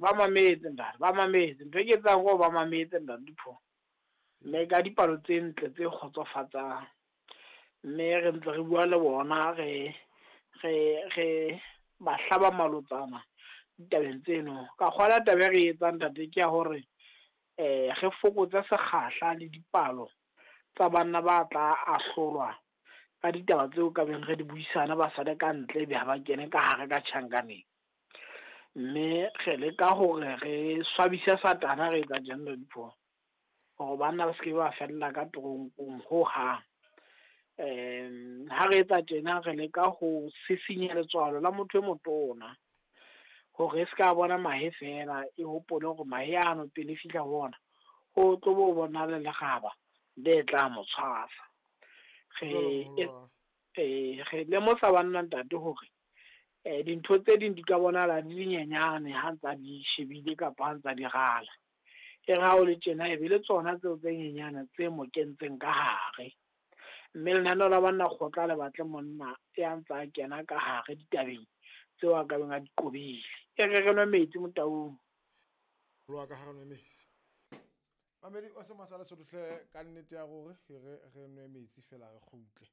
Ba mametse ntate, ba mametse. Ntho e ke etsang ko ba mametse ntate Dipho. Mme ka dipalo tse ntle tse kgotsofatsang. Mme re ntse re bua le bona re ba hlaba malotsana ditabeng tseno. Ka kgola taba e re etsang ntate ke ya hore re fokotse sekgahla le dipalo tsa banna ba tla ahlolwa ka ditaba tseo ka beng re di buisana ba sale ka ntle ebe ha ba kene ka hare ka tjhankaneng. Mme re leka hore re swabise satana re etsa tjena Dipho, hore banna ba seke ba fella ka toronkong hohang. Ha re etsa tjena re leka ho sisinya letswalo la motho e motona hore e ska bona mahe fela, e hopole hore mahe ano pele e fihla ho ona ho tlo bo bona le lekgaba le tla mo tshwasa. Re lemosa banna ntate hore dintho tse ding di ka bonahala di le nyenyane ha ntsa di shebile kapa ha ntsa di rala. E re ha o le tjena e be le tsona tseo tse nyenyane tse mo kentseng ka hare. Mme lenaneo la banna kgotla le batle monna ya ntsa kena ka hare ditabeng tseo a ka beng a di qobile. E re re nwe metsi Motaung. Lo ka hare nwe metsi. Mamedi wa se masala sotlhe ka nnete ya gore re nwe metsi fela re kgutle.